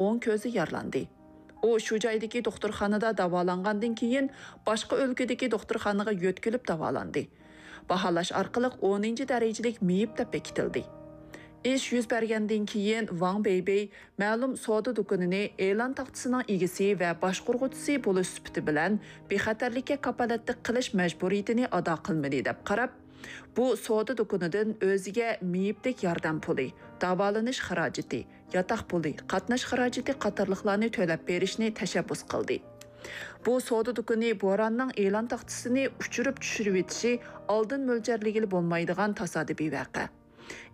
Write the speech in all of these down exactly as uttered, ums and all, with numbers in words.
ئوڭ كۆزى يارىلاندى. ئۇ شۇ جايدىكى دوختۇرخانىدا داۋالانغاندىن كېيىن، باشقا ئۆلكىدىكى دوختۇرخانىغا يۆتكىلىپ داۋالاندى. باھالاش ئارقىلىق ئونىنچى دەرىجىلىك مېيىپ دەپ بېكىتىلدى. ئىش يۈز بەرگەندىن كېيىن، ۋاڭ بېيبېي مەلۇم سودا دۇكىنىنى ئېلان تاختىسىنىڭ ئىگىسى ۋە باشقۇرغۇچىسى بولۇش سۈپىتى بىلەن بىخەتەرلىككە كاپالەتلىك قىلىش مەجبۇرىيىتىنى ئادا قىلمىدى، دەپ قاراپ، بۇ سودا دۇكىنىدىن ئۆزىگە مېيىپلىك ياردەم پۇلى، داۋالىنىش خىراجىتى، ياتاق پۇلى، قاتناش خىراجىتى قاتارلىقلارنى تۆلەپ بېرىشنى تەشەببۇس قىلدى. بۇ سودا دۇكىنى بوراننىڭ ئېلان تاختىسىنى ئۇچۇرۇپ چۈشۈرۈۋېتىشى ئالدىن مۆلچەرلىگىلى بولمايدىغان تاسادىپىي ۋەقە.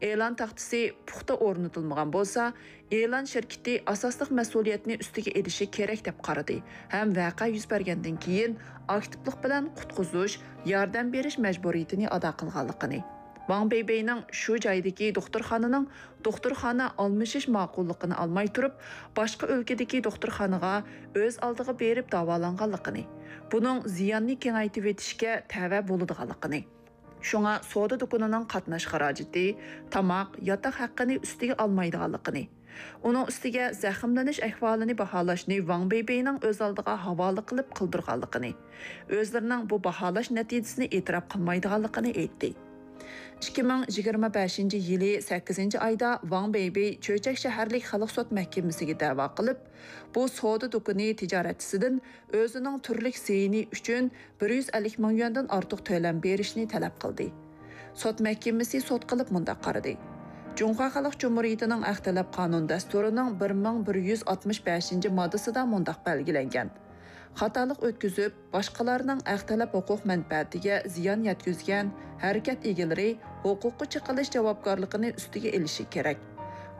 ئېلان تاختىسى پۇختا ئورنىتىلمىغان بولسا، ئېلان شىركىتى ئاساسلىق مەسئۇلىيەتنى ئۈستىگە ئېلىشى كېرەك، دەپ قارىدى ھەم ۋەقە يۈز بەرگەندىن كېيىن ئاكتىپلىق بىلەن قۇتقۇزۇش، ياردەم بېرىش مەجبۇرىيىتىنى ئادا قىلغانلىقىنى، ۋاڭ بېيبېينىڭ شۇ جايدىكى دوختۇرخانىنىڭ دوختۇرخانا ئالمىشىش ماقۇللۇقىنى ئالماي تۇرۇپ، باشقا ئۆلكىدىكى دوختۇرخانىغا ئۆز ئالدىغا بېرىپ داۋالانغانلىقىنى، بۇنىڭ زىياننى كېڭەيتىۋېتىشكە تەۋە بولىدىغانلىقىنى، شۇڭا سودا دۇكىنىنىڭ قاتناش خىراجىتى، تاماق، ياتاق ھەققىنى ئۈستىگە ئالمايدىغانلىقىنى، ئۇنىڭ ئۈستىگە زەخىملىنىش ئەھۋالىنى باھالاشنى ۋاڭ بېيبېينىڭ ئۆز ئالدىغا ھاۋالە قىلىپ قىلدۇرغانلىقىنى، ئۆزلىرىنىڭ بۇ باھالاش نەتىجىسىنى ئېتىراپ قىلمايدىغانلىقىنى ئېيتتى. ئىككى مىڭ يىگىرمە بەشىنچى يىلى سەككىزىنچى ئايدا ۋاڭ بېيبېي چۆچەك شەھەرلىك خەلق سوت مەھكىمىسىگە دەۋا قىلىپ، بۇ سودا دۇكىنى تىجارەتچىسىدىن ئۆزىنىڭ تۈرلۈك زىيىنى ئۈچۈن بىر يۈز ئەللىك مىڭ يۈەندىن ئارتۇق تۆلەم بېرىشنى تەلەپ قىلدى. سوت مەھكىمىسى سوت قىلىپ مۇنداق قارىدى: جۇڭخۇا خەلق جۇمھۇرىيىتىنىڭ ئەق تەلەپ قانۇن دەستۇرىنىڭ بىر مىڭ بىر يۈز ئاتمىش بەشىنچى ماددىسىدا مۇنداق بەلگىلەنگەن: خاتالىق ئۆتكۈزۈپ، باشقىلارنىڭ ئەق تەلەپ ھوقۇق مەنپەئەتىگە زىيان يەتكۈزگەن ھەرىكەت ئىگىلىرى ھوقۇققا چېقىلىش جاۋابكارلىقىنى ئۈستىگە ئېلىشى كېرەك.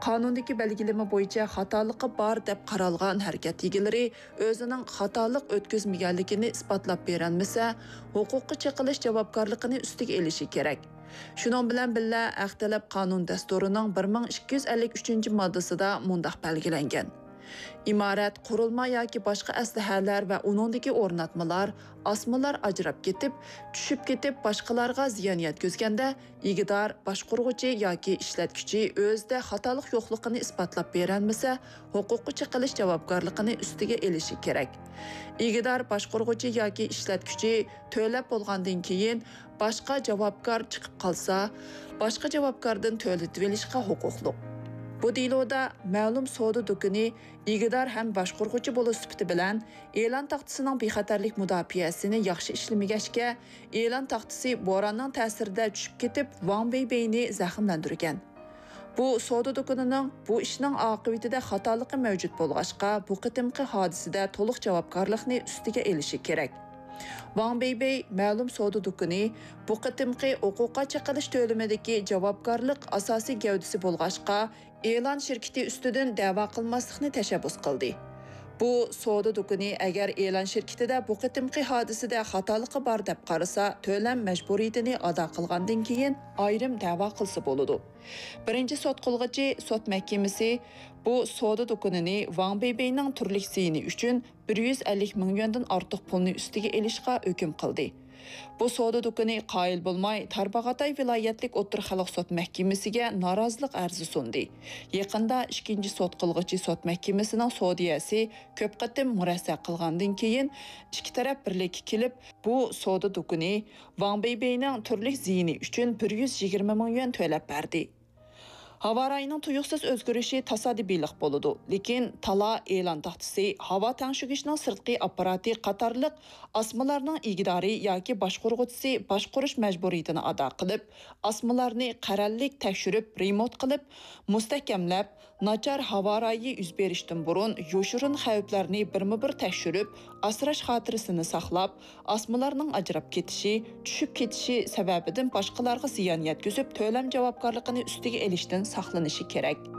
قانۇندىكى بەلگىلىمە بويىچە خاتالىقى بار دەپ قارالغان ھەرىكەت ئىگىلىرى ئۆزىنىڭ خاتالىق ئۆتكۈزمىگەنلىكىنى ئىسپاتلاپ بېرەلمىسە، ھوقۇققا چېقىلىش جاۋابكارلىقىنى ئۈستىگە ئېلىشى كېرەك. شۇنىڭ بىلەن بىللە، ئەق تەلەپ قانۇن دەستۇرىنىڭ بىر مىڭ ئىككى يۈز ئەللىك ئۈچىنچى ماددىسىدا مۇنداق بەلگىلەنگەن: ئىمارەت، قۇرۇلما ياكى باشقا ئەسلىھەلەر ۋە ئۇنىڭدىكى ئورناتمىلار، ئاسمىلار ئاجراپ كېتىپ، چۈشۈپ كېتىپ، باشقىلارغا زىيان يەتكۈزگەندە، ئىگىدار، باشقۇرغۇچى ياكى ئىشلەتكۈچى ئۆزىدە خاتالىق يوقلۇقىنى ئىسپاتلاپ بېرەلمىسە، ھوقۇققا چېقىلىش جاۋابكارلىقىنى ئۈستىگە ئېلىشى كېرەك. ئىگىدار، باشقۇرغۇچى ياكى ئىشلەتكۈچى تۆلەپ بولغاندىن كېيىن باشقا جاۋابكار چىقىپ قالسا، باشقا جاۋابكاردىن تۆلىتىۋېلىشقا ھوقۇقلۇق. بۇ دېلودا مەلۇم سودا دۇكىنى ئىگىدار ھەم باشقۇرغۇچى بولۇش سۈپىتى بىلەن ئېلان تاختىسىنىڭ بىخەتەرلىك مۇداپىئەسىنى ياخشى ئىشلىمىگەچكە، ئېلان تاختىسى بوراننىڭ تەسىرىدە چۈشۈپ كېتىپ، ۋاڭ بېيبېينى زەخىملەندۈرگەن. بۇ سودا دۇكىنىنىڭ بۇ ئىشنىڭ ئاقىۋىتىدە خاتالىقى مەۋجۇت بولغاچقا، بۇ قېتىمقى ھادىسىدە تولۇق جاۋابكارلىقنى ئۈستىگە ئېلىشى كېرەك. ۋاڭ بېيبېي مەلۇم سودا دۇكىنى بۇ قېتىمقى ھوقۇققا چېقىلىش تۆلىمىدىكى جاۋابكارلىق ئاساسىي گەۋدىسى بولغاچقا، ئېلان شىركىتى ئۈستىدىن دەۋا قىلماسلىقنى تەشەببۇس قىلدى. بۇ سودا دۇكىنى ئەگەر ئېلان شىركىتىدە بۇ قېتىمقى ھادىسىدە خاتالىقى بار دەپ قارىسا، تۆلەم مەجبۇرىيىتىنى ئادا قىلغاندىن كېيىن ئايرىم دەۋا قىلسا بولىدۇ. بىرىنچى سوت قىلغۇچى سوت مەھكىمىسى بۇ سودا دۇكىنىنى ۋاڭ بېيبېينىڭ تۈرلۈك زىيىنى ئۈچۈن بىر يۈز ئەللىك مىڭ يۈەندىن ئارتۇق پۇلنى ئۈستىگە ئېلىشقا ھۆكۈم قىلدى. بۇ سودا دۇكىنى قايىل بولماي، تارباغاتاي ۋىلايەتلىك ئوتتۇرا خەلق سوت مەھكىمىسىگە نارازىلىق ئەرزى سۇندى. يېقىندا ئىككىنچى سوت قىلغۇچى سوت مەھكىمىسىنىڭ سودىيەسى كۆپ قېتىم مۇرەسسە قىلغاندىن كېيىن، ئىككى تەرەپ بىرلىككە كېلىپ، بۇ سودا دۇكىنى ۋاڭ بېيبېينىڭ تۈرلۈك زىيىنى ئۈچۈن بىر يۈز يىگىرمە مىڭ يۈەن تۆلەپ بەردى. ھاۋا رايىنىڭ تۇيۇقسىز ئۆزگىرىشى تاسادىپىيلىق بولىدۇ، لېكىن تالا، ئېلان تاختىسى، ھاۋا تەڭشىگۈچنىڭ سىرتقى ئاپپاراتى قاتارلىق ئاسمىلارنىڭ ئىگىدارى ياكى باشقۇرغۇچىسى باشقۇرۇش مەجبۇرىيىتىنى ئادا قىلىپ، ئاسمىلارنى قەرەللىك تەكشۈرۈپ، رېمونت قىلىپ، مۇستەھكەملەپ، ناچار ھاۋا رايى يۈز بېرىشتىن بۇرۇن يوشۇرۇن خەۋپلەرنى بىرمۇبىر تەكشۈرۈپ، ئاسراش خاتىرىسىنى ساقلاپ، ئاسمىلارنىڭ ئاجراپ كېتىشى، چۈشۈپ كېتىشى سەۋەبىدىن باشقىلارغا زىيان يەتكۈزۈپ، تۆلەم جاۋابكارلىقىنى ئۈستىگە ئېلىشتىن ساقلىنىشى كېرەك.